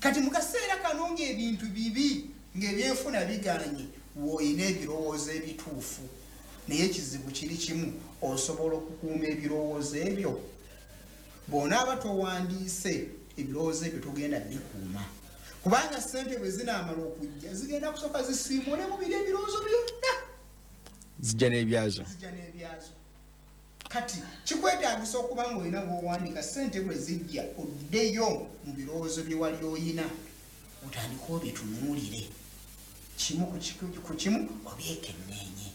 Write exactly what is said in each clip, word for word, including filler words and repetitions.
Kati mu kaseera kano ng'ebintu bibi, ng'ebyenfuna biganye, woolina ebirowoozo ebituufu, naye ekizibu kiri kimu: osobola okukuuma ebirowoozo ebyo? Bw'onaaba towandiise ebirowoozo ebyo, togenda bikuuma, kubanga sente bwe zinaamala okujja zigenda kusooka zisiimule mu biri ebirowoozo byonna. Zijja n'ebyazo. Zijja n'ebyazo. Kati kikwetaagisa okuba nga olina bw'owandiika. Sente bwe zijja, oddeyo mu birowoozo bye wali oyina, otandike obitunuulire kimu ku kimu, obyekenneenye.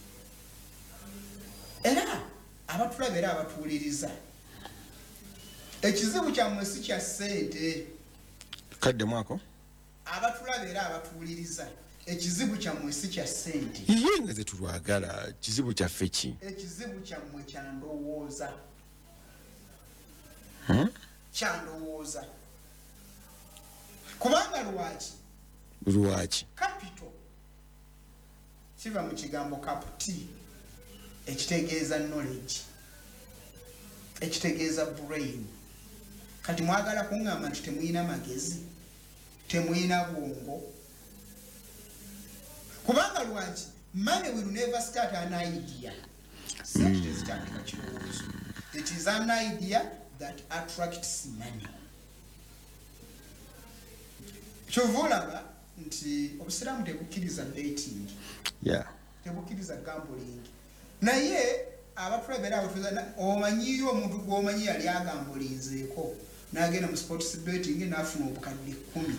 Era abatulaba era abatuwuliriza, ekizibu kyammwe si kya ssente. Kaddemu ako. Abatulaba era abatuwuliriza, ekizibu kyammwe si kya ssente. Ye nga zetulwagala, kizibu kyaffe ki? Ekizibu kyammwe kyandowooza. Hmm? Kyandowooza. Kubanga lwaki? Lwaki? Capital kiva mu kigambo caputi, ekitegeeza knowledge, ekitegeeza brain. Kati mwagala kuŋŋamba nti temuyina magezi, temuyina bwongo? Kubanga lwaki? Money will never start an idea. Sente tezitandika kirowoozo. It is an idea that attracts money. Kyova olaba nti obusiraamu tebukkiriza betting, yeah tebukkiriza gambling. Naye abatulaba era abatuza, omanyiyo omuntu gwomanyi yali agambulinzeeko n'agenda mu sports betting n'afuna obukadde kkumi,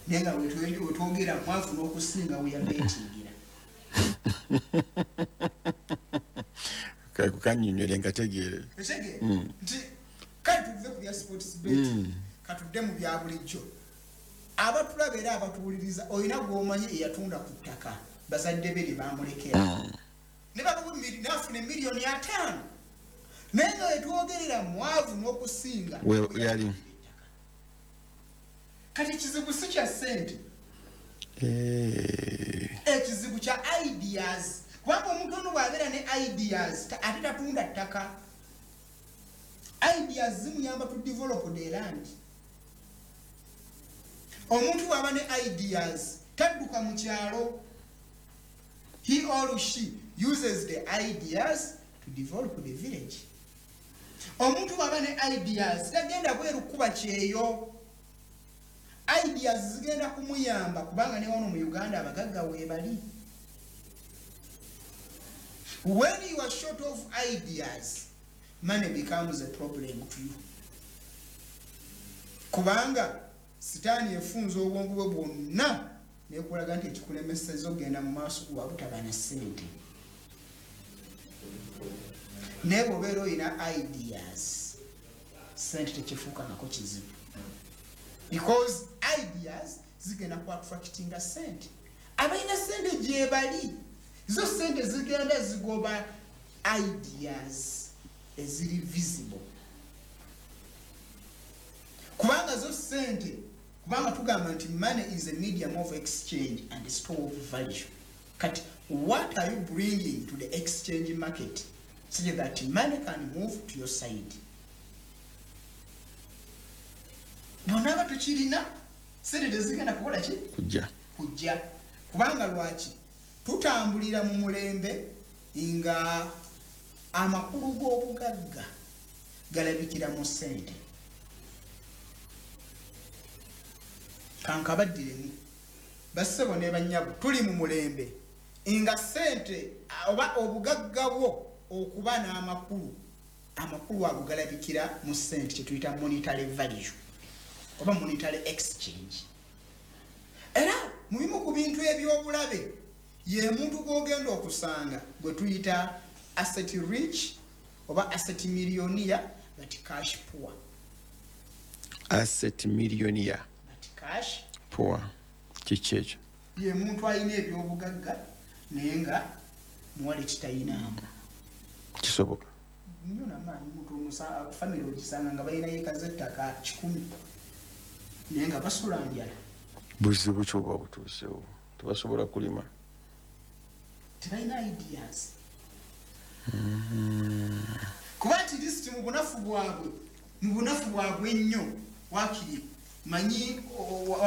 naye nga wetwogera mwafuna okusinga we yabetingira. Kanyonyole nkategeere. Otegeere nti kale tuve ku bya sports betting, katudde mu bya bulijjo. Abatulaba era abatuwuliriza, olina gwomanyi eyatunda ku ttaka bazadde be lye bamulekera, ne nafuna emiliyoni ataano, naye nga wetwogerera mwavu n'okusinga yali. Kati ekizibu si kya ssente, ekizibu kya ideas. Kubanga omuntu ono bw'abeera ne ideas, ate tatunda ttaka. Ideas zimuyamba to develop the land. Omuntu bw'aba ne ideas tadduka mu kyalo. He or she uses the ideas to develop the village. Omuntu bw'aba ne ideas tagenda bweru kuba kyeyo. Ideas zigenda kumuyamba, kubanga ne wano mu Uganda abagagga weebali. When you are short of ideas, money becomes a problem to you, kubanga sitaani efunza obwongo bwe bwonna nekulaga nti ekikulemeseza okugenda mu maaso kuba butaba na ssente. Naye bw'obeera olina ideas, sente tekifuukangako kizibu, because ideas zigenda ku attractinga sente. Abalina sente gyebali, zo sente zigenda zigoba ideas eziri visible, kubanga zo sente, kubanga tugamba nti money is a medium of exchange and a store of value. Kati what are you bringing to the exchange market such that money can move to your side? Bw'onaaba tukirina, sente tezigenda kukola ki? Kujja. Kujja. Kubanga lwaki? Tutambulira mu mulembe nga amakulu g'obugagga galabikira mu ssente. Kankabaddiremu, bassebo ne bannyabo, tuli mu mulembe nga ssente oba obugagga bwo okuba n'amakulu, amakulu ago galabikira mu ssente, kyetuyita monetary value oba monetary exchange. Era mu bimu ku bintu ebyobulabe ye muntu gw'ogenda okusanga gwe tuyita asset rich oba asset millionaire but cash poor. Asset millionaire but cash poor, kiki ekyo? Ye muntu alina ebyobugagga naye nga muwale kitayinaamu. Kisoboka nnyo namaanyi. Muntu famire ogisanga nga balina yiika z'ettaka kikumi, naye nga basula njala. Buzibu ki oba butuusewo tebasobola kulima? Tebalina ideas, kuba at least mu bunafu bwabwe, mu bunafu bwabwe ennyo, wakiri manyi.